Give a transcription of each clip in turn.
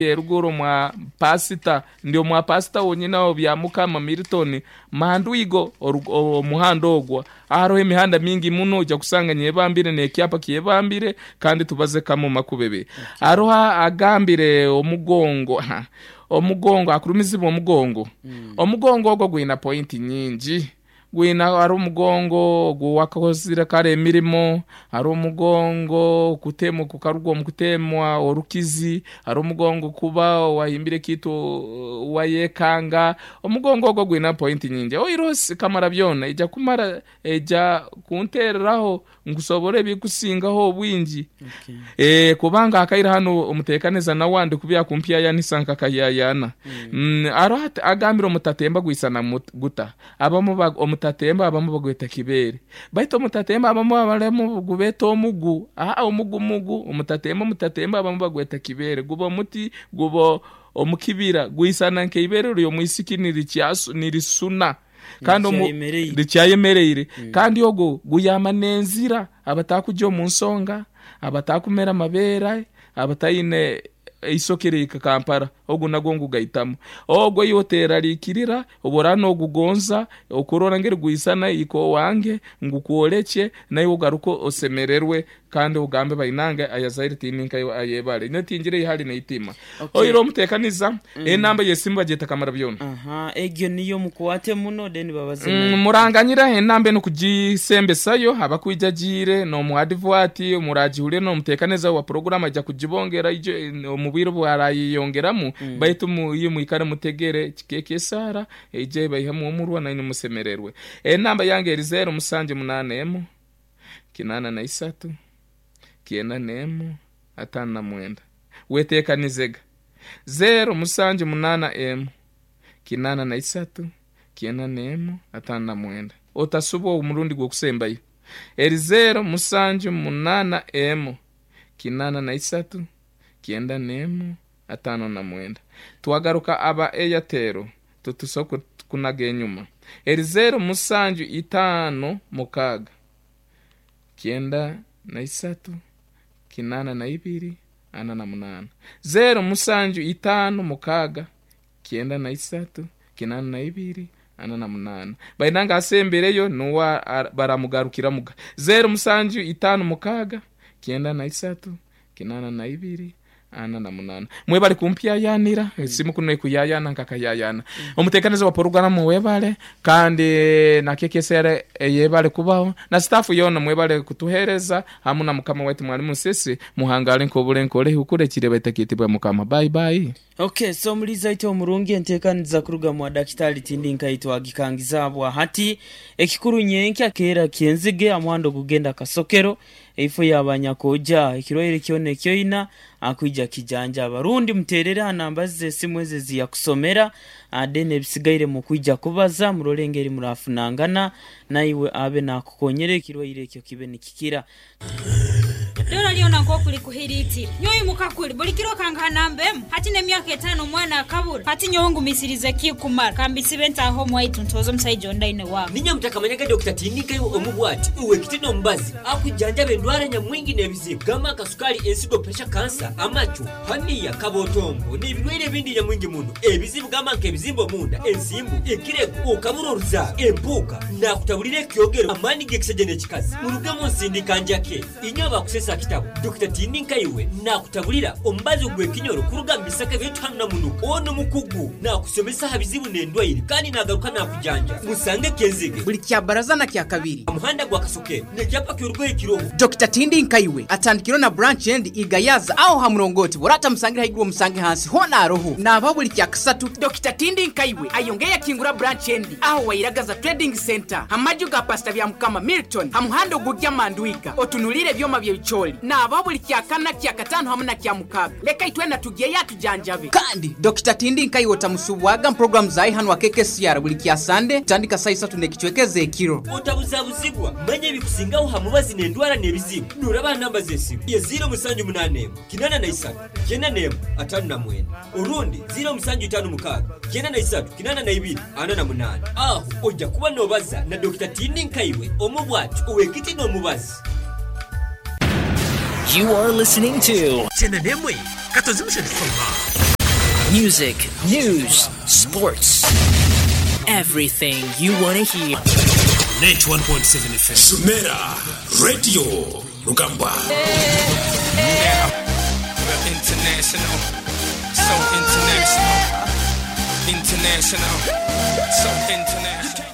Eruguru omwa pasita, ndi omwa pasita wonyini agho Byamukama Milton Mandwigo omuhanda ogwo. Haroho emihanda mingi muno oija kusanga nyebambire n'ekyapa kyebambire kandi tubaze kamu makubebe. Haroho agambire omugongo, omugongo akurumizibwa omugongo. Omugongo ogwo gwina pointi nyingi. Gwine hariho omugongo oguwakozire kare emirimo, hariho omugongo okutemwa kukaruga omu kutemwa orukizi, hariho omugongo kuba wahimbire ekiitu wayekanga. Omugongo ogwo gwine pointi nyingi. Oihireho kamara byona eija kumara eija kuntereraho nkusoborre ebikusingaho obwingi. Eeh kubanga akaire hanu omuteekaniza nawe andi kubi akumpyayanisa nkakayayana. Hariho ati agambire omutatemba gwisana guta? Abamu ba omutatemba abamu bagweta kibeere. Baitu omutatemba abamu abaremu gubeeta omugu. Aa omugu mugu, omutatemba omutatemba abamu bagweta kibeere. Guba omuti, guba omu kibira, gwisana nk'eibeere ry'omwisiki nirisuna kandi omu Rikyayemereire. rikyayemereire. Kandi ogwo guyamba n'enzira abatakugya omu nsonga, abatakumera amabeere, abataine eisoke rihika Kampala, ogu nagwo ngugaitamu. Ogwo iwe oterarikirira, obu oraaba nogugonza okurora ngeri gwisana ika owange, ngukworekye, naiwe ogaruke osemererwe kandi ogambe bainange ayazaire tindi nkaiwe ayebare. Nyowe tingira eihari n'eitima. Okay. Oire omutekaniza, enamba y'esimu bagyeta Kamarabyona. Aha, egyo niyo mukwate muno then babaze naye. Muranganyire enamba enu kugisembesayo abakwija agiire n'omu advert muragihurire n'omuteekaniza wa puroguramu aija kugibongera ijo omu bwire obu arayeyongeramu baitu imwe mwikare mutegere kikeeka esaara eije ebaihemu omurwa nainwe musemererwe. Enamba yange eri zeero musanju munaana emu kinaana na isatu kyenda n'emu ataano na mwenda. Weteekanizega. Zeero musanju munaana emu kinaana na isatu Kyenda n'emu, ataano na mwenda. Otasubwa omurundi gw'okusembayo. Eri zeero, musanju, munaana, emu, kinaana na isatu, kyenda n'emu, ataano na mwenda. Twagaruka aba Airtel titusobola kunaga enyuma. Eri zeero, musanju, itaano, mukaaga, kyenda na isatu, kinaana na ibiri, ana na munaana. Zeero, musanju, itaano, mukaaga, Kyenda na isatu, kinaana na ibiri, ana na munaana. Baina nga asembereyo nuwe baramugarukiramuga. Zeero musanju itaano mukaaga, kyenda na isatu, kinaana na ibiri, ana na munaana. Mwebale kumpyayanira, esimu kunu ekuyayaana nkakayayaana. Omuteekaniza wa poroguramu webale, kandi na KKCR eyebale kubaho, na sitaafu yoona mwebale kutuheereza hamu na mukama waitu Mwalimu Nsisi. Muhangaale nk'obure nkore hukure ekireba etakiitibwa Mukama. Bye bye. Ok so omuliizi aite omurungi enteekaniza kuruga mwa dakitaali tindi nkaitwe agikangiza bwa hati. Ekikuru nyenkya keera kyenzige amuhanda ogugenda Kasokero eifo ya banyakoja ekirwaire kyona ekyoina akwija kijanjaba rundi muterere ha namba ze zesimu ezo eziyakusomera then ebisigaire mukwija kubaza murole engeri murafunangana naiwe abe nakukonyera ekirwaire ekyo kibe nikikira. Dora lyona nk'oku likuhiriitire. Nyowe imuka kuri, buli kiro okangaha namba emu. Hati n'emyaka etaano omwana akabura. Hati nyowe ngumisirize kikumara. Ka mbisibe ntaahe omu waitu ntooze omusaija ondi aine waabo. Niinye mutakamanyaga Dokita Tindika iwe omu bwati ow'ekiti n'omubazi akujanjaba endwara nyamwingi n'ebizibu gamba nka sukaali, ensigo, puresha, kansa, amacu, haniya, kabotongo n'ebirwaire ebindi nyamwingi muno. Ebizibu gamba nk'ebizimba omunda, ensimbu, ekirego, okabura oruzaaro, empuuka, naakutaburira ekyogero, amaani g'ekisaija n'ekikazi. Murugemu nsindika njake. Inywe abakusesa kitabo, Dokita Tindi nkaiwe naakutaburira omubazi ogw'ekinyoro kuruga mu bisaka byaitu hanu na munuka. Onu mukugu naakusomesa aha bizibu n'endwaire kandi naagaruka naakujanja. Musange Kenzige. Buli Kyabaraza na Kyakabiri. Aha muhanda gwa Kasokero n'ekyapa ky'orugoye kiroho. Dokita Tindi Nkaiwe atandikireho na branch endi i Gayaza aho ha murongoti bw'oraba otamusangire haiguru omusange hansi hoona aroho. Naabaho buli Kyakasatu. Dokita Tindi Nkaiwe ayongeire yakingura branch endi aho Wairagaza Trading Centre ha maju ga Pastor Byamukama Milton ha muhanda ogugya Mandwiga otunuliire ebyoma by'ebicoori. Naabaho buli Kyakana, Kyakataano hamu na Kyamukaaga. Leka itwena tugyeyo atujanjabe. Kandi Dokita Tindi Nkaiwe otamusubwaga mu puroguramu za hanu aha KKCR buli kya Sande kutandika saaha isatu n'ekicweka ez'ekiro. Otabuzabuzibwa, manya ebikusingaho ha mubazi n'endwara n'ebizibu. Nooraba aha namba z'esimu ye ziiro musanju munaana emwe, kinaana na isatu, kyenda n'emwe, ataano na mwenda orundi ziiro musanju itaano mukaaga, kyenda na isatu, kinaana na ibiri, ana na munaana. Aho oija kuba noobaza na Dokita Tindi Nkaiwe omu bwati ow'ekiti n'omubazi. You are listening to. Kyenda n'emwe katozi mushatu fama. Music, news, sports, everything you wanna hear. 91.7 FM. Shumera Radio Rugambwa. Now, we're international, so international, international, so international.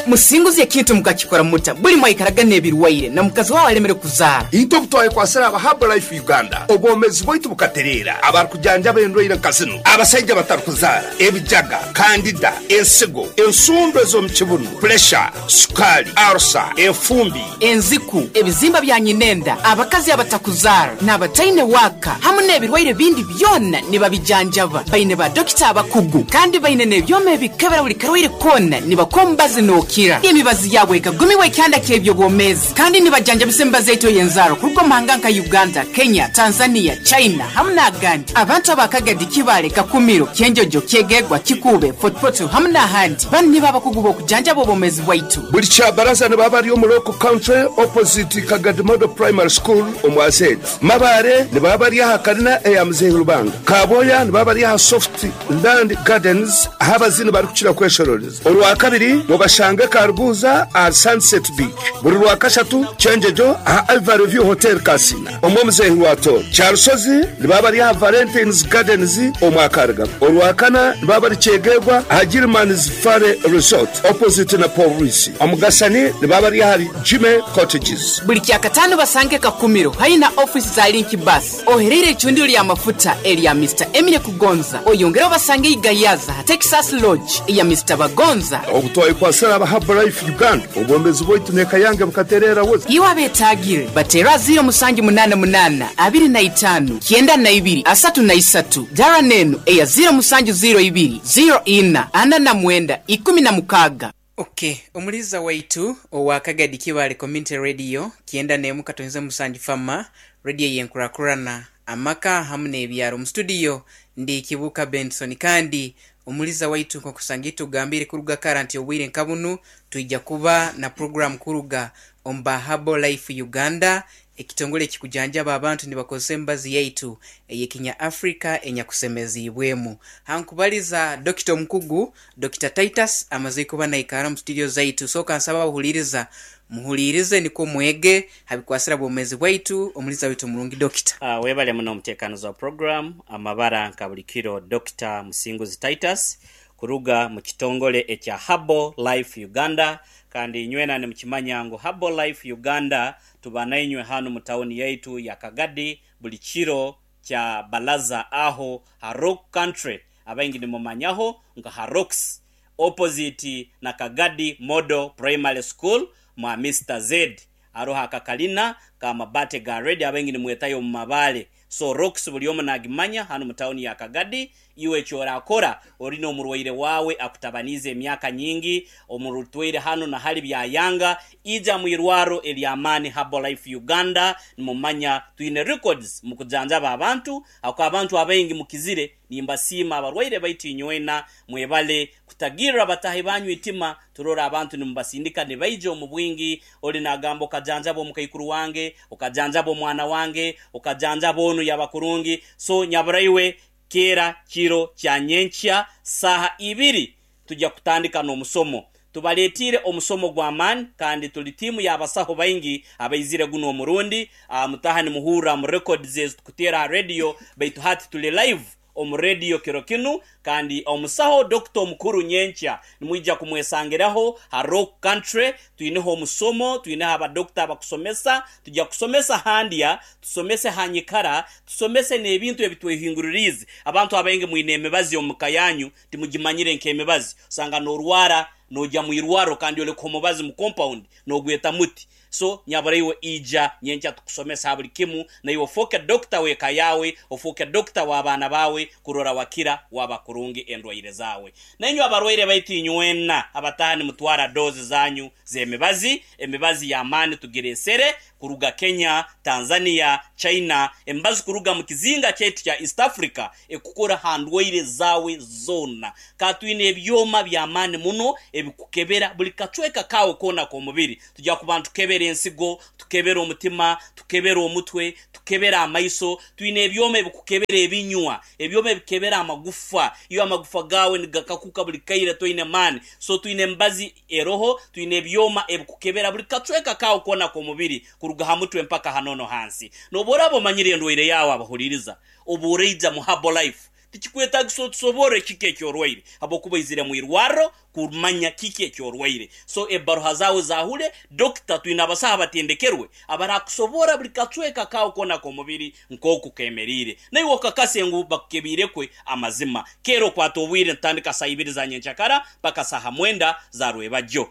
Musinguzi ekintu mukakikora muta buli mwaikaraga n'ebirwaire na mukazi wawe alemere kuzaara. Itwe obu twayekwasire aba Herbalife Uganda, obwomezi bwaitu bukatereera. Abarikujanjaba endwaire nka zinu, abasaija abatarikuzaara, ebijaga, kandida, ensigo, ensundo ez'omu kibunu, puresha, sukaali, arusa, enfumbi, enziku, ebizimba bya nyinenda, abakazi abatakuzaara n'abataine waaka hamu n'ebirwaire bindi byona nibabijanjaba. Baine ba dokita abakugu kandi baine n'ebyoma ebikebera buli karwaire koona nibakuha omubazi n'okira. Emibazi yaabo ekagumiwa ekyanda ky'eby'obwomeezi kandi nibajanjabisa emibazi yaitu ey'enzaaro kuruga omu mahanga nka Uganda, Kenya, Tanzania, China hamu n'agandi. Abantu aba Kagadi, Kibaale, Kakumiro, Kyenjojo, Kyegegwa, Kikuube, Fort Portal hamu n'ahandi. Banu nibo abakugu b'okujanjaba obwomeezi bwaitu. Buli kyabaraza nibaba bari omu Local Country opposite Kagadi Model Primary School omu Azedi. Mabaare nibaba bari aha karina eya Muzeeyi Rubanga. Kaboya nibaba bari aha Soft Land Gardens ahu abazini barikukira kweshororeza. Orwakabiri mubashange Karuguza aha Sunset Beach. Buri Rwakashatu Kyenjojo aha Ivory View Hotel Kasina omu Omuzeeyi Rwatooro. Kyarusozi nibaba bari aha Valentines Gardens omu Akarigabo. Orwakana nibaba bari Kyegegwa aha Gilman's Valley Resort opposite na Police. Omugasani nibaba bari ahari Jimmy Cottages. Buri Kyakataano basange Kakumiro haihi na ofiisi za Link Bus ohereire eicundiro ry'amafuta erya Mister Emile Kugonza. Oyongere obasange Igayaza aha Texas Lodge eya Mister Bagonza. Obu twayekwasire aba Herbalife Uganda, obwomeezi bwaitu n'eka yange bukatereera busa. Iwe abeetaagire, bateere aha 0788 25 92 33. Dara n'enu eya 0702 04 49 16. Ok, omuliiza waitu owa Kagadi Kibaale Community Radio 91 katonze musanju Fama, Radio ey'enkurakurana, amaka hamu n'ebyaro. Mu studio ndi Kibuuka Benson kandi omuliiza waitu nk'okusanga itugambiire kuruga kara nti obwire nka bunu twija kuba na program kuruga omu ba Herbal Life Uganda, ekitongole ekikujanjaba abantu nibakozesa emibazi yaitu ey'ekinya Africa enyakusemeziibwemu. Hankubaliza Dokita omukugu, Dokita Titus amaze kuba naikara omu studio zaitu. So kansaba abahuliiriza muhuliirize nikwo mwege habikwasira bwomezi bwaitu. Omuliza waitu omurungi Dokita. Webale muno omutekanizi wa program amabara nka buli kiro Dokita Musinguzi Titus kuruga mu kitongole ekya Herbal Life Uganda kandi inywena nimukimanya ngu Herbal Life Uganda tuba nainywe hanu mu tawuni yaitu ya Kagadi buli kiro kya Balaza aho ha Rock Country abaingi nimumanyaho nka ha Rocks opposite na Kagadi Model Primary School mwa Mister Z aroho akakalina ka mabate ga red abaingi nimwetayo omu mabale so Rocks buli omu nagimanya hanu mu tawuni ya Kagadi. Iwe ekyorakora ori n'omurwaire wawe akutabaniize emyaka nyingi omurutwaire hanu na hali byayanga ija mu irwaro ery'amaani Herbal Life Uganda. Nimumanya twine records mu kujanjaba abantu ako abantu abaingi mukizire. Nimbasiima abarwaire baitu inywena mwebale kutagirra batahi banyu itima. Turora abantu nimubasindika nibaija omu bwingi. Ori nagamba okajanjaba omukaikuru wange, okajanjaba omwana wange, okajanjaba onu yaba kurungi. So nyaburaiwe kera kiro kya nyenkya saha ibiri tujya kutandika n'omusomo. Tubaletire omusomo gw'amaani kandi tuli tiimu y'abasaho baingi abaizire guno omurundi. Mutaha nimuhurra mu records ezi tukuteera aha radio, baitu hati tuli live omu radio kiro kinu kandi omusaho dokita omukuru nyenkya nimwija kumwesangiraho ha Rock Country. Twineho omusomo, twineho abadokita abakusomesa. Tujya kusomesa handya, tusomese hanyikara, tusomese n'ebintu ebitwehinguririize. Abantu abaingi mwine emibazi omu ka yanyu timugimanyire nk'emibazi. Osanga n'orwara nojya mu irwaro kandi oleka omubazi mu compound nogweta muti. So nyaburaiwe ija nyenkya tukusomesa buli kimu, naiwe ofoke dokita w'eka yawe, ofoke dokita w'abaana bawe kurora wakira waba kurungi endwaire zawe. Nainywe abarwaire baitu inywena abataha nimutwara dozi zanyu z'emibazi, emibazi y'amaani tugiresere kuruga Kenya, Tanzania, China, emibazi kuruga mu kizinga kyaitu kya East Africa ekukora ha ndwaire zawe zona. Ka twine ebyoma by'amaani muno ebikukebera buli kacweka kawe kona k'omubiri. Tujya kuba ntukebera Tukebera ensigo, tukebera omutima, tukebera omutwe, tukebera amaiso, twine ebyoma ebikukebera ebinywa, ebyoma ebikebera amagufa, iwe amagufa gaawe nigakakuka buri kaire toine maani. So twine emibazi eroho, twine ebyoma ebikukebera buri kacweka kaawe koona k'omubiri kuruga ha mutwe mpaka hanono hansi. N'obu oraaba omanyire endwaire yaawe abahuriiriza, obu oraija mu Herbalife, Tikikwetagisa otusoborre kiki eki orwaire habwokuba oizire mu irwarro kumanya kiki eki orwaire. So ebbaruha zaawe zaahule dokita. Twine abasaho abatendekerwe abarakusoborra buli kacweka kaawe koona ak'omubiri nk'oku keemeriire. Naiwe okakase ngu bakukebiire kwe amazima. Keera okwate obwire nitutandika saaha ibiri za nyenkyakara mpaka saaha mwenda za rwebagyo.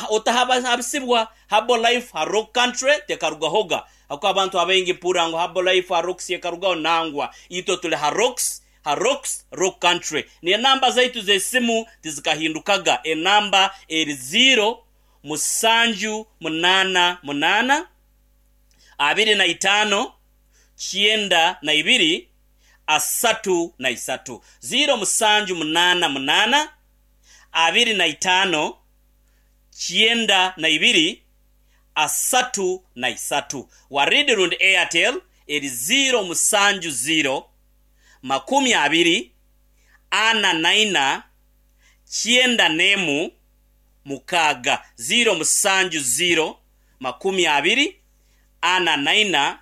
Otahabisibwa Herbalife ha Rock Country tekarugahoga. Ahakuba abantu abaingi mpurra ngu Herbalife ha Rocks ekarugaho, nangwa. Itwe tuli ha Rocks, ha Rocks, Rock Country. N'enamba zaitu z'esimu tizikahindukaga. Enamba eri ziiro, musanju, munaana, munaana, 25, 92, 33. Ziiro, musanju, munaana, munaana, 25, 92, 33. Warid rundi Airtel eri 0 7 20 44 91 6. 0 7 20 44 91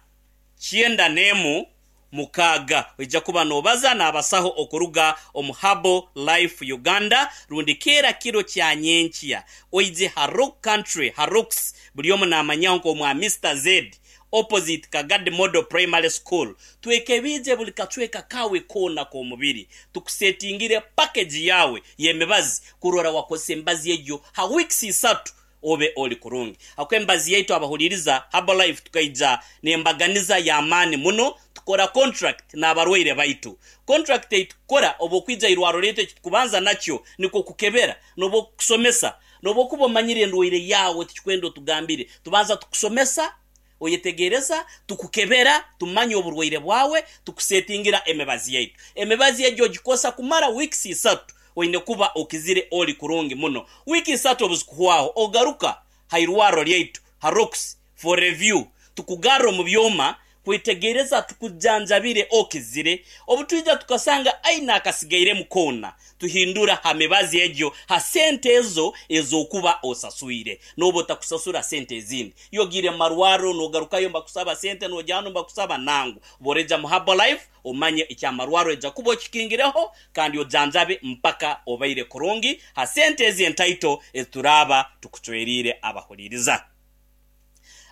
6. Oija kuba noobaza n'abasaho okuruga omu Herbal Life Uganda rundi keera kiro kya nyenkya oije ha Rock Country ha Rocks buri omu naamanyaho nk'omwa Mister Zed opposite Kagadi Model Primary School. Twekebiije buri kacweka kaawe koona k'omubiri tukusetingire package yaawe y'emibazi kurora wakozesa emibazi egyo ha weeks isatu obe ori kurungi. Ahabw'okuba emibazi yaitu abahuriiriza Herbalife tukaija n'embaganiza y'amaani muno, tukora contract n'abarwaire baitu. Contract ei tukukora obu okwija irwaro ryaitu eki tukubanza nakyo nikwo kukebera n'obu okukusomesa. N'obu okuba omanyire endwaire yaawe tikikwenda otugambire, tubanza tukusomesa, oyetegereza, tukukebera tumanya oburwaire bwawe, tukusetingira emibazi yaitu. Emibazi egyo ogikosa kumara weeks isatu, oine kuba okizire ori kurungi muno. Wiiki isatu obuzikuhwaho, ogaruka ha irwarro ryaitu ha Rocks for review, tukugarra omu byoma kwetegereza tukujanjabire okizire. Obutwija tukasanga aine akasigairemu koona, Tuhindura ha mibazi egyo ha sente ezo ez'okuba osaswire. N'oba otakusasura sente ezindi. Iwe ogiire mu marwarro n'ogarukayo nibakusaba sente, n'ogya hanu nibakusaba. Nangwa. Obu oraija mu Herbalife, omanye eky'amarwarro oija kuba okikingireho kandi ojanjabe mpaka obaire kurungi ha sente ezi entaito ezi turaaba tukucweriire abahuriiriza.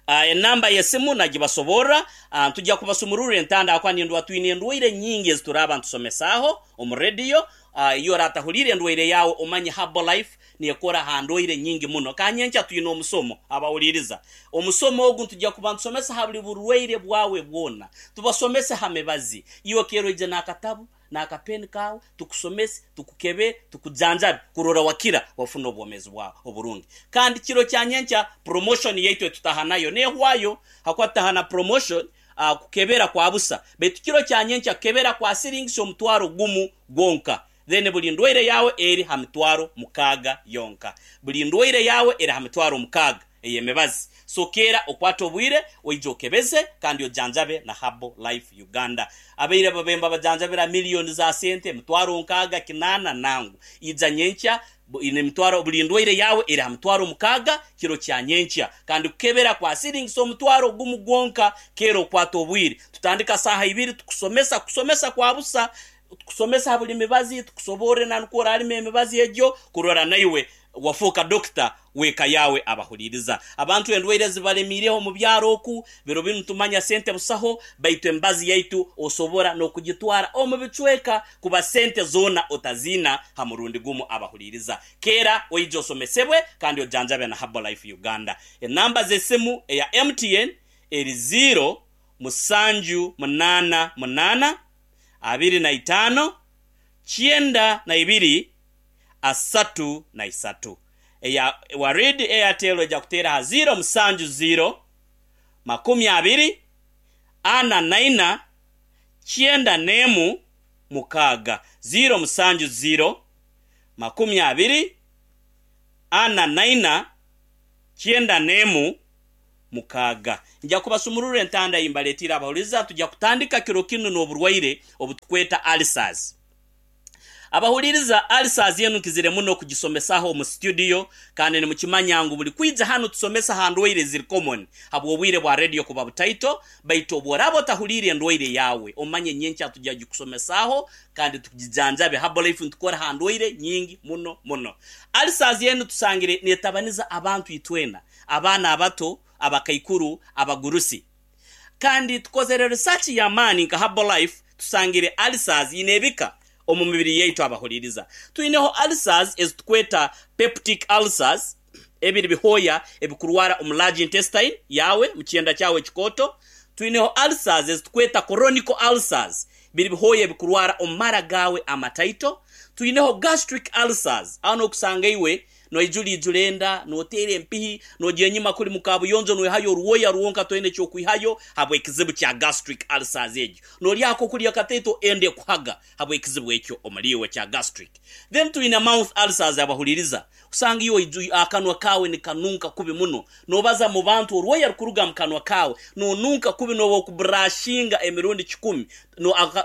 Enamba y'esimu nagibasoborra. Ntugya kubasumururra entanda ahakuba nindwa twine endwaire nyingi ezi turaaba ntusomesaaho omu rediyo. Iwe oratahuliire endwaire yaawe omanye Herbalife nekora ha ndwaire nyingi muno. Ka nyenkya twine omusomo abahuliiriza. Omusomo ogu ntugya kuba ntusomesa ha buli burwaire bwawe bwona. Tubasomese ha mibazi. Iwe keera oije n'akatabu n'akapeni kaawe, tukusomese, tukukebere, tukujanjabe kurora wakira wafuna obwomeezi bwawe oburungi. Kandi kiro kya nyenkya promotion yaitu etutaha nayo nehwayo hakuba tutaha na promotion kukebera kwa busa baitu kiro kya nyenkya kukebera kwa siringisi omutwaro gumu gwonka then buli ndwaire yawe eri ha mitwaro mukaaga yonka. Buli ndwaire yawe eri ha mitwaro mukaaga. ey'emibazi. So keera okwate obwire oije okebeze kandi ojanjabe na Herbal Life Uganda. Abaire babaire nibabajanjabira million za sente, emitwaro nkaaga, kinaana, nangu. Ija nyenkya nemitwaro buli ndwaire yaawe eri ha mitwaro mukaaga kiro kya nyenkya. Kandi kukebera kwa siringisa omutwaro gumu gwonka. Keera okwate obwire. Tutandika saaha ibiri tukusomesa, kusomesa kwa busa. Tukusomesa ha buli mibazi, tukusoborre na nukwo oraalima emibazi egyo kurora naiwe Wafooka dokita w'eka yaawe abahuriiriza. Abantu endwaire zibalemiireho omu byaro oku, biro binu tumanya sente busaho, baitu emibazi yaitu osobora n'okugitwara omu bicweka kuba sente zoona otaziina ha murundi gumu abahuriiriza. Keera oije osomesebwe kandi ojanjabe na Herbalife Uganda. Enamba z'esimu eya MTN eri ziiro, musanju, munaana, munaana, 25, 92, 33. Eya Warid Airtel eja kuteera aha ziiro musanju ziiro, 20, 44, 91, 6. Ziiro musanju ziiro, 20, 44, 91, Mukaaga. Nja kubasumururra entanda ei mbaletiire abahuliriza, tugya kutandika kiro kinu n'oburwaire obutukweta ulcers. Abahuliriza, ulcers enu nkizire muno kugisomesaho omu studio kandi nimukimanya ngu buli kwija hanu tusomesa ha ndwaire eziri common habw'obwire bwa radio kuba butaito, baitu obworaaba otahuliire endwaire yaawe omanye nyenkya tugya gikusomesaaho kandi tugijanjabe. Herbalife nitukora ha ndwaire nyingi muno muno. Ulcers enu tusangire netabaniza abantu itwena. Abaana abato, abakaikuru, abagurusi. Kandi tukozere research y'amaani nka Herbalife tusangire ulcers ine ebika omu mibiri yaitu abahuliriza. Twineho ulcers ezitukweta peptic ulcers, ebiri bihooya ebikurwara omu large intestine yaawe, mu kyenda kyawe ekikooto. Twineho ulcers ezitukweta chronic ulcers, biri bihooya ebikurwara omu mara gaawe amataito. Twineho gastric ulcers, aho nokusanga iwe Noijura ijura enda, noteera empihi, nogyenda enyima kuri mu kabuyonjo noihayo orwoya rwonka toine ky'okwihayo habw'ekizibu kya gastric ulcers egyo. Norya akokurya kataito enda ekuhaga habw'ekizibu ekyo omuri iwe kya gastric. Then twine mouth ulcers abahuririza osanga iwe akanwa kaawe nikanunka kubi muno, nobaza mu bantu orwoya rukuruga mu kanwa kaawe, nonunka kubi nobu okuburashinga emirundi kikumi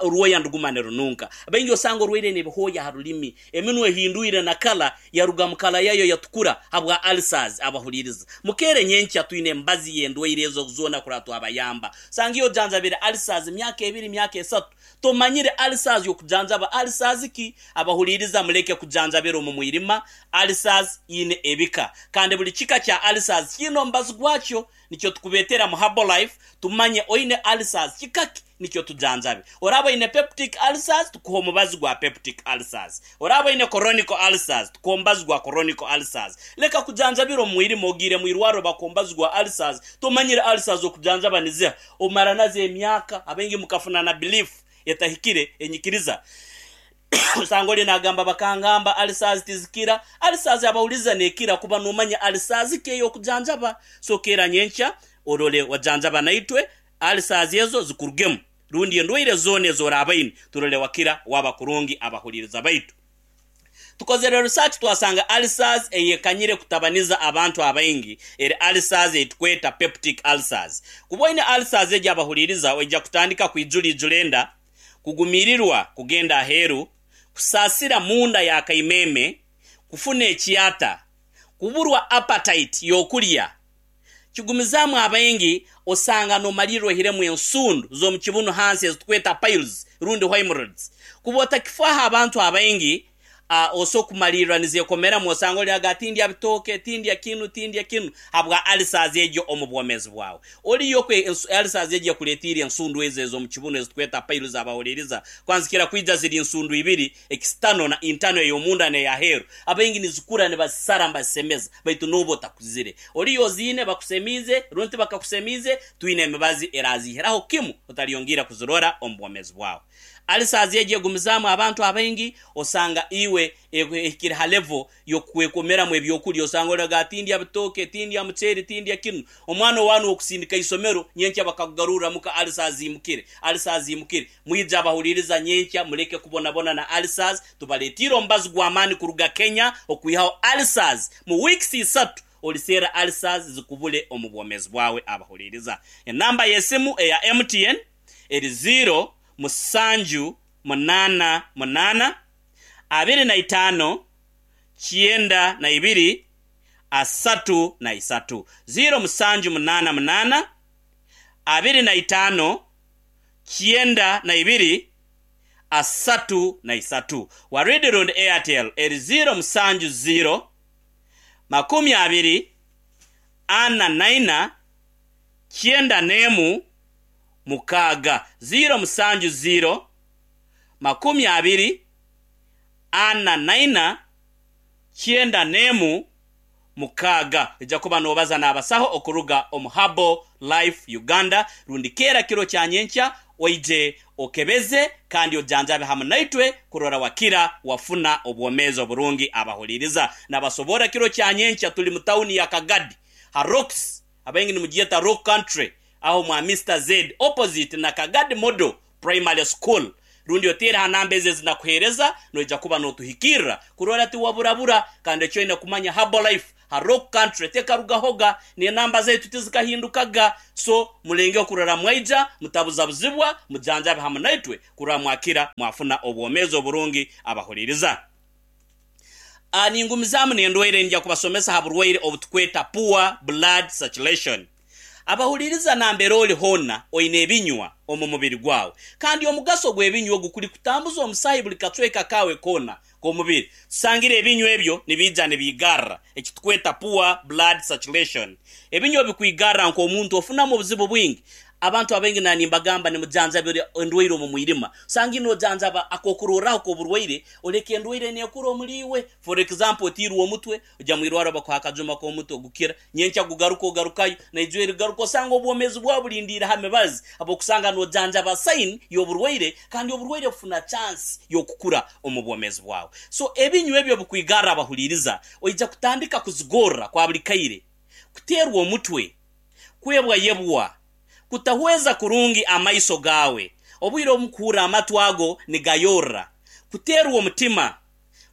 orwoya niruguma nirununka. Baingi osanga orwaire n'ebihooya aha rurimi. Eminwa ehindwire na kala yaruga mu kala yayo yatukura habwa ulcers. Abahuliriza mukeere nyenkya twine embazi y'endwaire ezo zoona kurora twabayamba. Sanga iwe ojanjabire ulcers myaka ebiri myaka esatu tomanyire ulcers y'okujanjaba ulcers ki? Abahuliriza muleke kujanjabira omu mwirima. Ulcers ine ebika kandi buli kika kya ulcers kiine omubazi gwakyo. Nikyo tukubetera mu Herbalife tumanye oine ulcers kika ki nikyo tujanjabe. Oraaba oine peptic ulcers tukuhe omubazi gwa peptic ulcers. Oraaba oine chronic ulcers tukuhe omubazi gwa chronic ulcers. Leka kujanjabira omu mwirima ogiire mu irwariro bakuha omubazi gwa ulcers tomanyire ulcers okujanjaba niziha omara nazo emyaka abaingi mukafuna na belief etahikire enyikiriza Osanga ori nagamba bakangamba ulcers tizikira. Ulcers abahuriza nekira kuba nomanya ulcers ki eyokujanjaba. So keera nyenkya orore wajanjaba naitwe ulcers ezo zikurugemu rundi endwaire zoona ezorabaine turore wakira waba kurungi abahuririza baitu. Tukozere research twasanga ulcers eyekanyire kutabaniza abantu abaingi eri ulcers eyitukweta peptic ulcers. Kuba oine ulcers egi abahuririza oija kutandika kwijura ijura enda, kugumirirwa kugenda aheeru, kusaasira munda ya kaimeeme, kufuna ekyata, kuburwa appetite y'okurya. Kigumizaamu abaingi osanga nomalirra oihiremu ensundu z'omu kibunu hansi ezitukweta piles rundi hemorrhoids. Kuba otakifaaho abantu abaingi Oso kumalirra nizekomeramu osanga oli aga tindya bitooke, tindya kinu, tindya kinu habwa ulcers egyo omu bwomeezi bwawe. Oliyo kwe ulcers egyo ekuletiire ensundu ezo ez'omu kibunu ezitweta piles abahuliriza kwanzikira kwija ziri nsundu ibiri, external na internal ey'omunda n'eyaheeru. Abaingi nizikura nibazisara nibazisemeza baitu nooba otakuzire. Oliyo oziine bakusemiize rundi tibakakusemiize, twine emibazi eraziihiraho kimu otalyongiira kuzirora omu bwomeezi bwawe. Ulcers egyo egumizaamu abantu abaingi osanga iwe ehikire ha level yokukwekomeramu ebyokurya osanga oraga tindya bitooke, tindya muceeri, tindya kinu. Omwana owanu wokusindika isomero nyenkya bakakugarurra muka ulcers ziimukire, ulcers ziimukire. Mwije abahuliriza nyenkya muleke kubonabona na ulcers, tubaletiire omubazi gw'amaani kuruga Kenya okwihaho ulcers mu weeks isatu oliseera ulcers zikubule omu bwomezi bwawe abahuliriza. Enamba y'esimu eya MTN. eri ziiro musanju munaana munaana, 25 92 33. Ziiro musanju munaana munaana, 25 92 33. Waridi rundi Airtel eri ziiro musanju ziiro, 20 44 91. Mukaaga, ziiro musanju ziiro, 24 naina, 91, 6. Oija kuba noobaza n'abasaho okuruga omu Herbal Life Uganda rundi keera kiro kya nyenkya oije okebeze kandi ojanjabe hamu naitwe kurora wakira wafuna obwomeezi oburungi. Abahuliriza nabasoborra kiro kya nyenkya tuli mu tawuni ya Kagadi ha Rocks abaingi nimugyeta Rock Country aho mwa Mister Zed opposite na Kagadi Model Primary School rundi oteere ha namba ezi ezinakuheereza noija kuba notuhikirra kurora tiwaburabura kandi eki oine kumanya Herbalife. Ha Rock Country tekarugahoga, n'enamba zaitu tizikahindukaga. So mulengeho kurora mwaija mutabuzabuzibwa, mujanjabe hamu naitwe kurora mwakira mwafuna obwomeezi oburungi. Abahuliriza. A Ningumizaamu n'endwaire ningya kubasomesa ha burwaire obutukweta poor blood circulation. Abahuliriza nambere ori hoona oine ebinywa omu mubiri gwawe kandi omugaso gw'ebinywa ogu kuri kutambuza omusaahi buri kacweka kaawe koona k'omubiri. Tusangire ebinywa ebyo nibiija nibiigarra eki tukweta poor blood circulation. Ebinywa bikwigarra nk'omuntu ofunamu obuzibu bwingi. Abantu abaingi na nimbagamba nimujanjabira endwaire omu mwirima. Osanga nojanjaba akokurorraho k'oburwaire oleka endwaire nekura omuri iwe. For example otiirwe omutwe, oja mwirwarro bakuha akajuma k'omutwe gukira, nyenkya gugaruka ogarukayo, naija erigaruka osanga obwomezi bwawe bulindiire ha mibazi habw'okusanga nojanjaba sign y'oburwaire kandi oburwaire bufuna chance y'okukura omu bwomezi bwawe. So ebinywa ebyo bikwigarra abahuliiriza oija kutandika kuzigorra kwa buli kaire, kuteerwa omutwe, kwebwayebwa, kutahweza kurungi amaiso gaawe, obwire obumu kuhurra amatu ago nigayorra, kuteerwa omutima,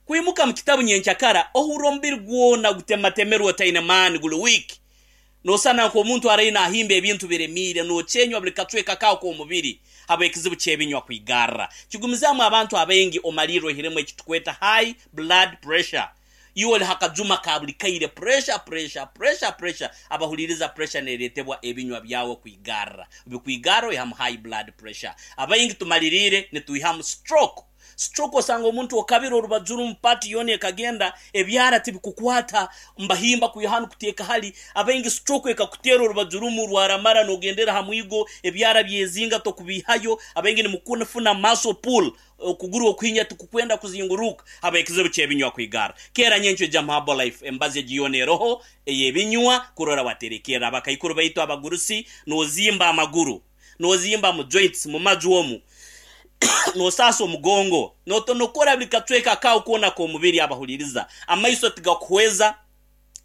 Kwimuka mu kitabu nyenkyakara ohurra omubiri gwona gutematemerwe otaine maani guri weak. Nosana nk'omuntu araire nahimba ebintu biremiire, nokyenywa buri kacweka kaawe k'omubiri habw'ekizibu ky'ebinywa kwigarra. Kigumizaamu abantu abaingi omalirra oihiremu ekitukweta high blood pressure. Iwe ori ha kajuma ka buri kaire pressure, pressure, pressure, pressure. Abahuliriza pressure neretebwa ebinywa byawe kwigarra. Bikwigarra oihamu high blood pressure. Abaingi tumaliriire nitwihamu stroke. Stroke osanga omuntu okabire orubaju rumu part yoona ekagenda ebyara tibikukwata mbahimba kwiha hanu kuteeka hali abaingi stroke ekakuteera orubaju rumu rwaramara nogendera ha mwigo ebyara byezinga tokubihayo abaingi nimukufuna muscle pull okuguru okuhinya tikukwenda kuzinguruka habwekizibu kyebinywa kwigara keera nyenkyo ija mu Herbalife emibazi egi yoona eroho eyebinywa kurora waterekerra abakaikuru baitu abagurusi nozimba amaguru Nozimba mu joints, mu maju omu, nosaasa omugongo, notonokora buri kacweka kaawe koona k'omubiri. Abahuliriza, amaiso tigakuhweza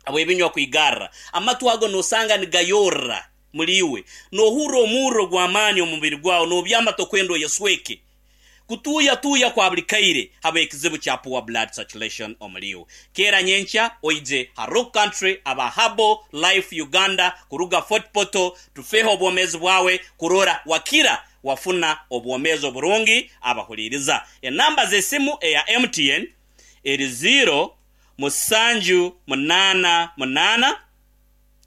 habw'ebinywa kwigarra. Amatu ago nosanga nigayorra muri iwe. Nohurra omurro gw'amaani omu mubiri gwawe, nobyama tokwenda oyesweke. Kutuuya tuuya kwa buri kaire habw'ekizibu kya poor blood circulation omuri iwe. Keera nyenkya oije ha Rock Country aba Herbal Life Uganda kuruga Fort Portal tufeho obwomeezi bwawe kurora wakira wafuna obwomeezi oburungi abahuriiriza. Enamba z'esimu eya MTN eri ziiro musanju munaana munaana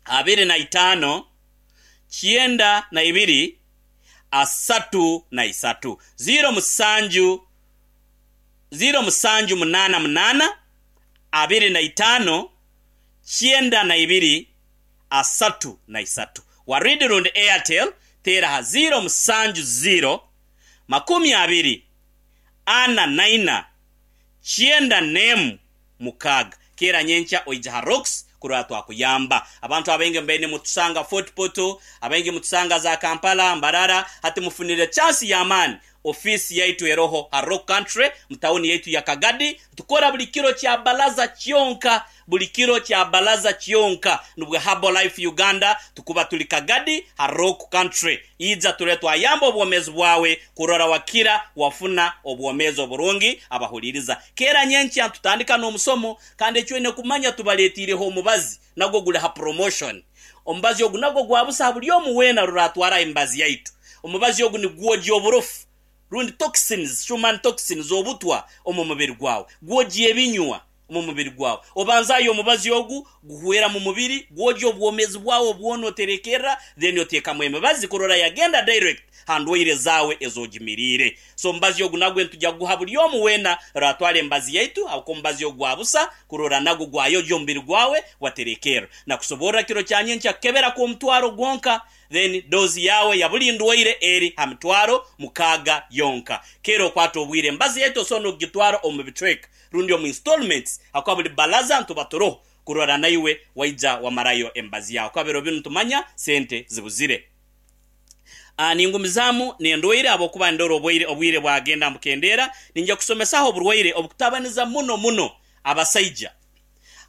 25 92 33. 07 0788 25 92 33. Waridi rundi Airtel teera aha 070 20 44 91 6. Keera nyenkya oije ha Rocks kurora twakuyamba. Abantu abaingi mubaire nimutusanga Fort Portal, abaingi mutusanga za Kampala, Mbarara, hati mufunire chance y'amaani. Ofiisi yaitu eroho ha Rock Country mu tawuni yaitu ya Kagadi. Nitukora buri kiro kya Balaza kyonka, buri kiro kya Balaza kyonka. Nubwo Herbalife Uganda tukuba turi Kagadi ha Rock Country. Ija turore twayamba obwomeezi bwawe kurora wakira wafuna obwomeezi oburungi. Abahuliriza, keera nyenkya nitutandika n'omusomo kandi eki oine kumanya tubaletiireho omubazi nagwo guri ha promotion. Omubazi ogu nagwo gwa busa ha buri omu weena rora atwara emibazi yaitu. Omubazi ogu nigwogya oburofu rundi toxins, human toxins, obutwa omu mubiri gwawe. Gwogya ebinywa. omu mubiri gwawe. Obanzaayo omubazi ogu guhwera mu mubiri, gwogya obwomeezi bwawe bwona oterekerra then oteekamu emibazi kurora yagenda direct ha ndwaire zaawe ez'ogimiriire. So omubazi ogu nagwe nitugya kuguha buri omu weena oraatwara emibazi yaitu habwokuba omubazi ogu gwa busa kurora nagwo gwayogya omubiri gwawe waterekerra. Nakusoborra kiro kya nyenkya kukebera kw'omutwaro gwonka. Then dose yaawe ya buri ndwaire eri ha mitwaro mukaaga yonka. Keera okwate obwire emibazi yaitu osobola n'okugitwara omu bicweka rundi omu installments ahakuba buri balaza nituba turoho kurora naiwe waija wamarayo emibazi yaawe ahakuba biro binu nitumanya sente zibuzire. Ningumizaamu n'endwaire ahabw'okuba nindora obwaire obwire bwagenda nibukendeera, ninja kusomesaho oburwaire obukutabaniza muno muno abasaija.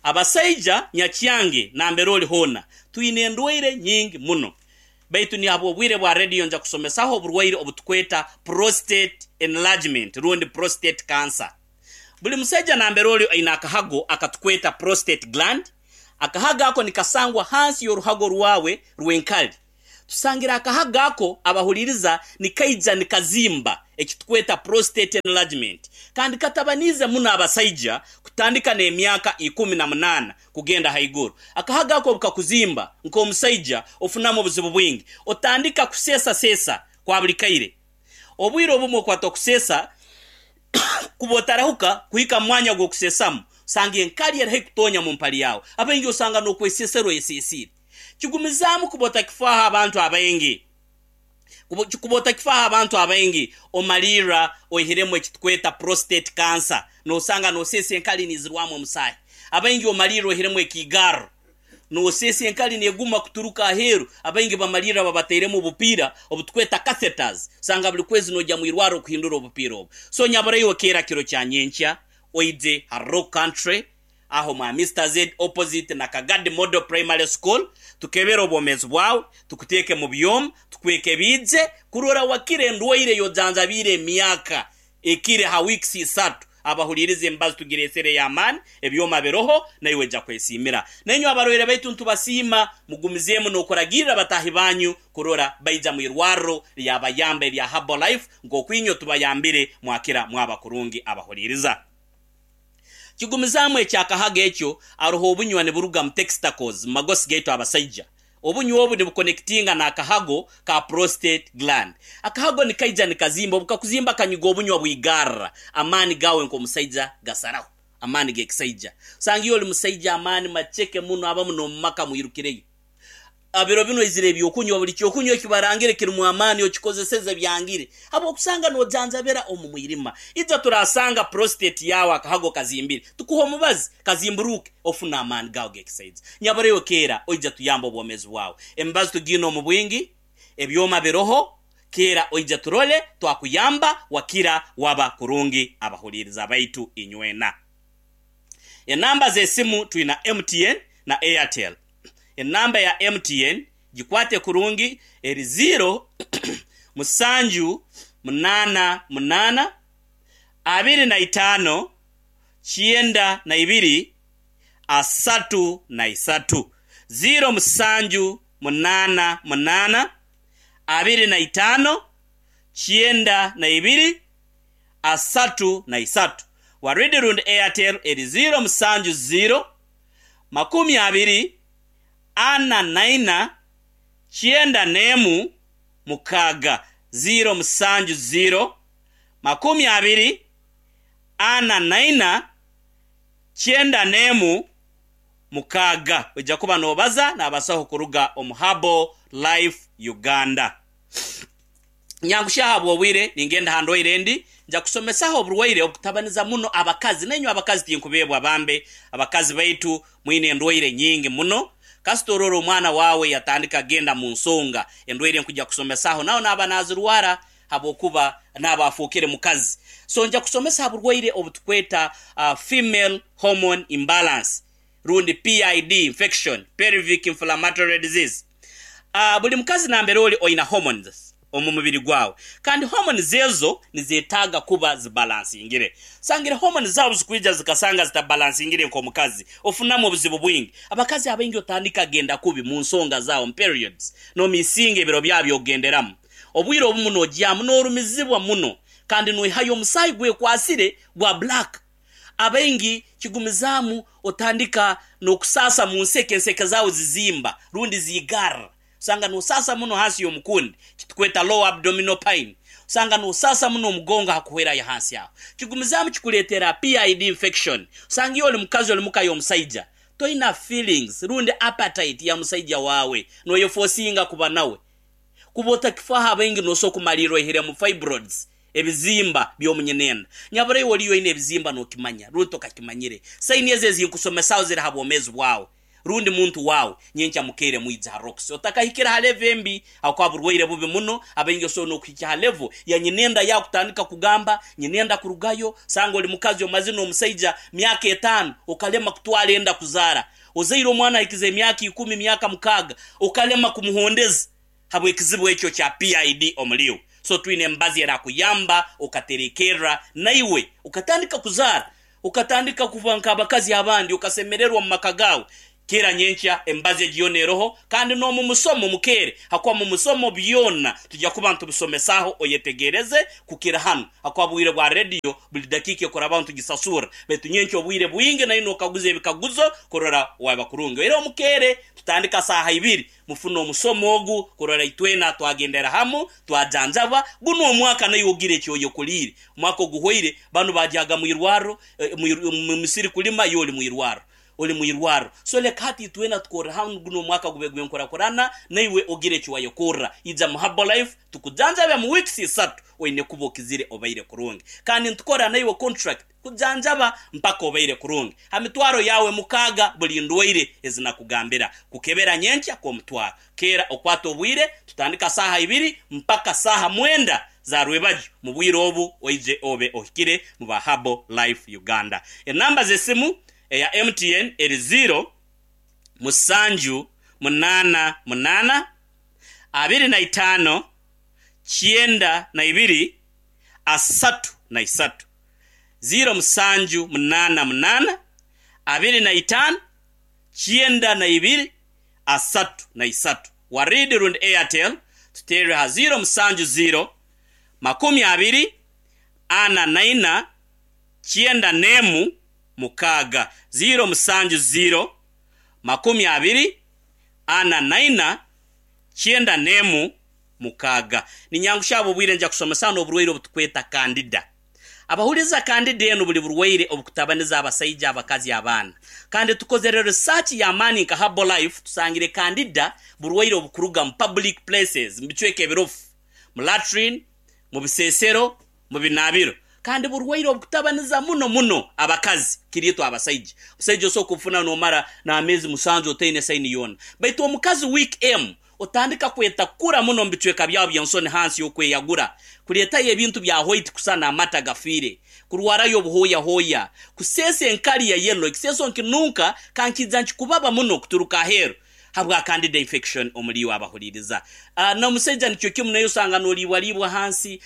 Abasaija nyakyange nambere ori hoona, twine endwaire nyingi muno. Baitu ni habw'obwire bwa rediyo nja kusomesaho oburwaire obutukweta prostate enlargement rundi prostate cancer. Buli musaija nambere ori aine akahago akatukweta prostate gland. Akahago ako nikasangwa hansi y'oruhago rwawe rw'enkari. Tusangire akahago ako abahuririza nikaija nikazimba ekitukweta prostate enlargement kandi katabaniize muno abasaija kutandika n'emyaka 18 kugenda haiguru. Akahago ako obukakuzimba nk'omusaija ofunamu obuzibu bwingi. Otandika kuseesaseesa kwa buri kaire. Obwire obumwe okwata okuseesa kuba otarahuka kuhika mu mwanya gw'okuseesamu osanga enkari eri haihi kutonya mu mpari yaawe. Abaingi osanga n'okweseesera oyeseesiire. Kigumizaamu kuba otakifaaho abantu abaingi. Kuba otakifaaho abantu abaingi omalirra oihiremu ekitukweta prostate cancer nosanga noseesa enkari nizirwamu omusaahi. Abaingi omalirra oihiremu ekiigarro noseesa enkari neguma kuturuka aheeru. Abaingi bamalirra babatairemu obupiira obutukweta catheters osanga buri kwezi nojya mu irwarro kuhindura obupiira obu. So nyabura iwe keera kiro kya nyenkya oije ha Rock Country aho mwa Mister Z opposite na Kagadi Model Primary School tukebere obwomeezi bwawe, tukuteeke mu byoma, tukwekebiije kurora wakira endwaire ey'ojanjabiire emyaka ekire ha weeks isatu. Abahuriiriza emibazi tugireesere ey'amaani, ebyoma biroho, naiwe oija kwesiimira. Nainywe abarwaire baitu nitubasiima, mugumizeemu n'okuragirra bataahi banyu kurora baija mu irwarro lyabayamba erya Herbal Life nk'oku inywe tubayambire mwakira mwaba kurungi abahuriiriza. Kigumizaamu eky'akahago ekyo, aroho obunywa niburuga mu textacles, mu magosi gaitu abasaija. Obunywa obu nibukonekitinga n'akahago ka prostate gland. Akahago nikaija nikazimba, obu kakuzimba kanyiga obunywa bwigarra, amaani gaawe nk'omusaija gasaraho, amaani g'ekisaija. Osanga iwe oli musaija amaani maceke muno abamu n'omu maka mwirukireyo. Biro binu oizire eby'okunywa, buli ky'okunywa eki barangire kirimu amaani okikozeseze byangire habw'okusanga nojanjabira omu mwirima. Ija turasanga prostate yaawe akahago kazimbire, tukuhe omubazi kazimburuuke ofune amaani gaawe g'ekisaija. Nyabura iwe keera oija tuyambe obwomeezi bwawe. Emibazi tugiine omu bwingi, ebyoma biroho, keera oija turole twakuyamba wakira waba kurungi abahuliiriza baitu inywena. Enamba z'esimu twina MTN na Airtel. Enamba ya MTN gikwate kurungi eri ziiro musanju munaana munaana 25 92 33. Ziiro musanju munaana munaana 25 92 33. Waridi rundi Airtel eri ziiro musanju ziiro 24 91 6, 0 7 0 24 91 6. Oija kuba noobaza n'abasaho kuruga omu Herbal Life Uganda. Nyangushya ahabw'obwire, ningenda aha ndwaire endi. Nja kusomesaho oburwaire obukutabaniza muno abakazi. Nainywe abakazi tinkubeebwa bambe. Abakazi baitu mwine endwaire nyingi muno. Kasita orora omwana waawe yatandika kugenda mu nsonga, endwaire nkuja kusomesaho nawe naaba nazirwara habwokuba naaba afuukire mukazi. So nja kusomesa ha burwaire obutukweta female hormone imbalance rundi PID infection, pelvic inflammatory disease. Buli mukazi nambere oli oina hormones omu mubiri gwawe kandi hormones ezo nizetaaga kuba zibalansingire. Sangire hormones zaawe obuzikwija zikasanga zitabalansingire nk'omukazi ofunamu obuzibu bwingi. Abakazi abaingi otandika genda kubi mu nsonga zaawe omu periods nomisinga ebiro byawe by'okugenderamu. Obwire obumu nogyamu norumizibwa muno kandi noihayo omusaayi gwekwasire gwa black. Abaingi kigumizaamu otandika n'okusaasa mu nseke, enseke zaawe zizimba rundi ziigarra. Osanga nosaasa muno hansi y'omukundi, kitukweta lower abdominal pain. Osanga nosaasa muno omugongo hakuhwerayo hansi aho. Kigumizaamu kikuleetera PID infection. Osanga iwe oli mukazi oli muka y'omusaija, toina feelings rundi appetite ya musaija waawe, noyefosinga kuba nawe. Kuba otakifaho abaingi nosobola kumalirra oihiremu fibroids, ebizimba by'omunyinenda. Nyabura iwe oliyo oine ebizimba nokimanya rundi tokakimanyire. Saini ezo ezinkusomesaho ziri ha bwomeezi bwawe rundi muntu waawe. Nyenkya mukeire mwije ha Roxy. Otakahikire ha level embi habwokuba burwaire bubi muno. Abaingi osobola n'okuhikya ha level ya nyinenda yaawe kutandika kugamba nyinenda kurugayo. Sanga oli mukazi omazire n'omusaija myaka etaano okalema kutwara enda kuzaara. Ozaire omwana ahikize emyaka ikumi, myaka mukaaga, okalema kumuhondeza habw'ekizibu ekyo kya PID omuri iwe. So twine emibazi erakuyamba okaterekerra naiwe okatandika kuzaara, okatandika kuba nk'abakazi abandi, okasemererwa omu maka gaawe. Keera nyenkya emibazi egi yoona eroho kandi n'omu musomo mukeere hakuba mu musomo byona tujya kuba nitubisomesaaho oyetegereze kukira hanu hakuba bwire bwa rediyo buli dakiika ekurabaho nitugisasurra baitu nyenkya obwire bwingi nayo nokaguza ebikaguzo kurora waba kurungi era omukeere tutandika saaha ibiri mufune omusomo ogu kurora itwena twagendera hamu twajanjabwa gunu omwaka naiwe ogire eki oyekoliire omwaka oguhwaire banu bagyaga mwirwarro mu misiri kulima iwe oli mwirwarro Oli mu irwarro. So leka hati itwena tukorre hamu gunu omwaka gube gw'enkurakurana naiwe ogire eki wayekorra. Ija mu Herbalife tukujanjabe mu weeks isatu oine kuba okizire obaire kurungi. Kandi nitukora naiwe contract kujanjaba mpaka obaire kurungi. Ha mitwaro yaawe mukaaga buli ndwaire ezi nakugambira. Kukebera nyenkya kw'omutwaro. Keera okwate obwire tutandika saaha ibiri mpaka saaha mwenda za rwebagyo mu bwire obu oije obe ohikire mu ba Herbal Life Uganda. Enamba z'esimu Eya MTN eri ziiro, musanju, munaana, munaana, 25, 92, 33. Ziiro, musanju, munaana, munaana, 25, 92, 33. Warid rundi Airtel tuteerere ha ziiro, musanju, ziiro, 20, 44, 91, 6, 0 7 0 20 4 4 91 6. Ninyangushya habw'obwire nja kusomesa n'oburwaire obutukweta kandida. Abahuliiriza kandida enu buli burwaire obukutabaniza abasaija, abakazi, abaana. Kandi tukozere research y'amaani nka Herbalife tusangire kandida burwaire obukuruga mu public places, mu bicweka ebirofu, mu latrine, mu bisesero, mu binaabiro kandi burwaire obukutabaniza muno muno abakazi kiri itwe abasaija. Omusaija osobola kubufuna nomara n'ameezi musanju otaine saini yoona. Baitu omukazi week emu otandika kwetakura muno omu bicweka byawe by'ensoni hansi y'okweyagura, kureetayo ebintu bya white kusana amata gafiire, kurwarayo obuhooyahooya, kuseesa enkari ya yellow, ekiseeso nkinunka kankiija nkikubaba muno kuturuka aheeru. Habwa candida infection omuri iwe abahuririza. N'omusaija nikyo kimu naye osanga noriibwariibwa hansi,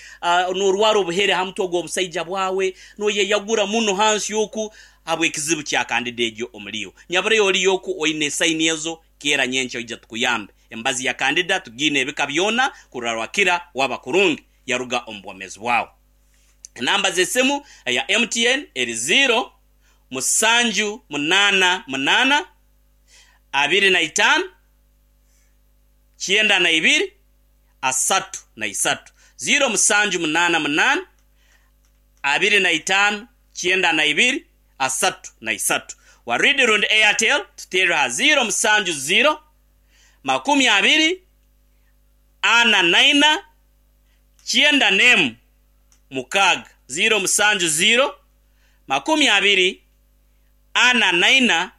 norwara obuhere ha mutwe gw'obusaija bwawe, noyeyagura muno hansi oku habw'ekizibu kya candida egyo omuri iwe. Nyabureyo oriyo oku oine esaini ezo, keera nyenkya oije tukuyambe. Emibazi ya candida tugiine ebika byona kurora wakira waba kurungi yaruga omu bwomezi bwawe. Enamba z'esimu eya MTN eri ziiro, musanju, munaana, munaana, 25, 92, 33. 0 7 8 8 25 92 33. Waridi rundi Airtel tuteerere ha 0 7 0 20 4 4 91 6 0 7 0 20 4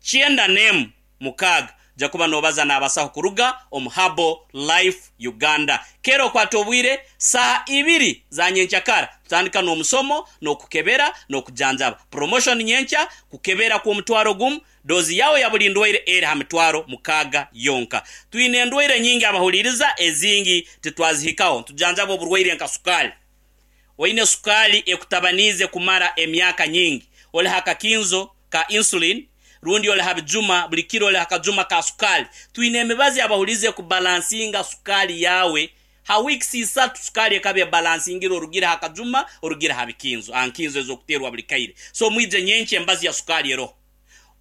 91 6. Oja kuba nobaza n'abasaho kuruga omu Herbal Life Uganda. Keera okwate obwire saaha ibiri za nyenkyakara tutandika n'omusomo n'okukebera n'okujanjaba. Promotion nyenkya, kukebera kw'omutwaro gumu, doozi yaawe ya buli ndwaire eri ha mitwaro mukaaga yonka. Twine endwaire nyingi abahuliiriza ezingi titwazihikaho. Nitujanjaba oburwaire nka sukaali. Oine sukaali ekutabaniize kumara emyaka nyingi? Oli ha kakinzo ka insulin rundi oli ha bijuma buli kiro oli ha kajuma ka sukaali? Twine emibazi abahulize kubalansinga sukaali yaawe. Ha weeks isatu sukaali ekaba ebalansingire orugire ha kajuma orugire ha bikinzo, ha nkinzo ez'okuteerwa buli kaire. So mwije nyenkya emibazi ya sukaali eroho.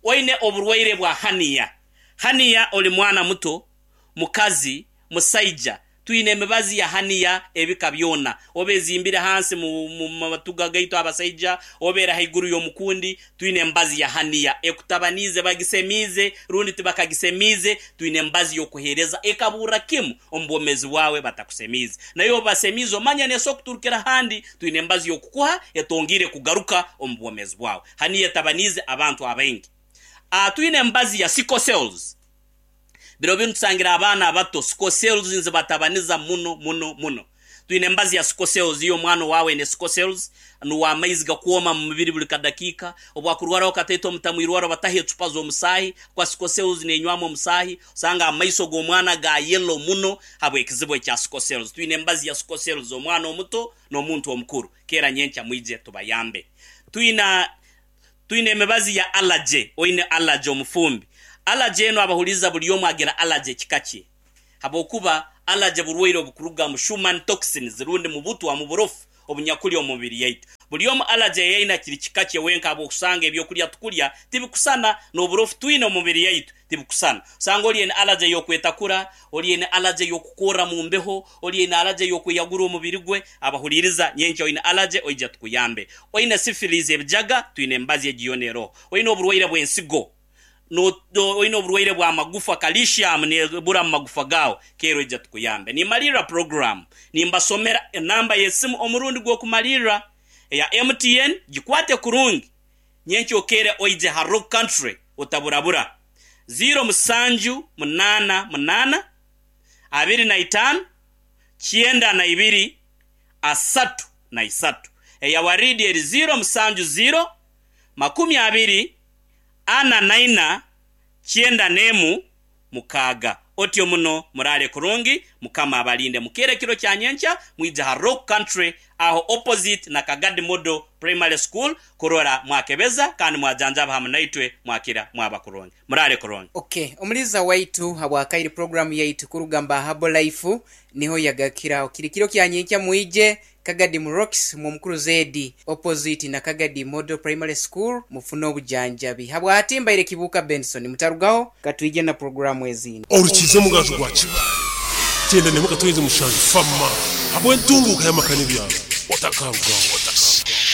Oine oburwaire bwa hernia? Hernia oli mwana muto, mukazi, musaija, Twine emibazi ya haniya ebika byona, oba ezimbire hansi mu matuga gaitu abasaija, oba eri haiguru y'omukundi, twine emibazi ya haniya ekutabaniize, bagisemiize rundi tibakagisemiize, twine emibazi y'okuheereza ekaburra kimu omu bwomeezi bwawe batakusemiize. Nayo obu basemiize omanya neesobora kuturukira ahandi, twine emibazi y'okukuha etongiire kugaruka omu bwomeezi bwawe. Haniya etabaniize abantu abaingi. Twine emibazi ya sickle cells. Biro binu tusangire abaana abato sickle cells nizibatabaniza muno muno muno. Twine embazi ya sickle cells, iyo omwana owaawe aine sickle cells, nuwe amaizi gakwoma mu mubiri buli kadakiika, obu akurwaraho kataito mutamwirwaro bataho ecupa z'omusaahi, kuba sickle cells nenywamu omusaahi, osanga amaiso g'omwana ga yellow muno habw'ekizibu ekya sickle cells. Twine embazi ya sickle cells omwana omuto n'omuntu omukuru. Keera nyenkya mwije tubayambe. Twine Twine emibazi ya allergy, oine allergy omufumbi. Allergy enu abahuliiriza buli omu agira allergy ekika kye habwokuba allergy burwaire obukuruga mu human toxins rundi mu butwa mu burofu obunyakuli omu mubiri yaitu. Buli omu allergy ei aine kiri kika kye wenka habw'okusanga ebyokulya tukulya tibikusana n'oburofu twine omu mubiri yaitu tibikusana. Osanga oli aine allergy ey'okwetakura, oli aine allergy ey'okukorra mu mbeho, oli aine allergy ey'okweyagura omubiri gwe. Abahuliiriza, nyenkya oine allergy oija tukuyambe. Oine syphilis, ebijaga, twine emibazi egi yoona eroho. Oine oburwaire bw'ensigo, oine oburwaire bw'amagufa, calcium nebura mu magufa gaawe, keera oija tukuyambe. Nimmalirra puroguraamu nimbasomera enamba y'esimu omurundi gw'okumalirra eya MTN, gikwate kurungi nyenkya okeere oije ha Rock Country otaburabura, ziiro musanju munaana munaana, 25, 92, 33. Eya Waridi eri 0 7 0, 20, 44, 96. Otyo muno muraare kurungi, Mukama abalinde. Mukeere ekiro kya nyenkya mwije ha Rock Country aho opposite na Kagadi Model Primary School kurora mwakebeza kandi mwajanjaba hamu naitwe mwakira mwaba kurungi. Muraare kurungi. Ok, omuliiza waitu habwakaire program yaitu kuruga mba Herbal Life niho yagakiraho. Kiri kiro kya nyenkya mwije Kagadi mu Rocks mu Omukuru Zedi opposite na Kagadi Model Primary School mufune obujanjabi. Habwahati mbaire Kibuuka Benson mutarugaho katwije na program ezindi. Orukiiza omugaju gwa Kibaale, 97 fama habw'entunguuka y'amaka n'ebyaro. Otakarugaho.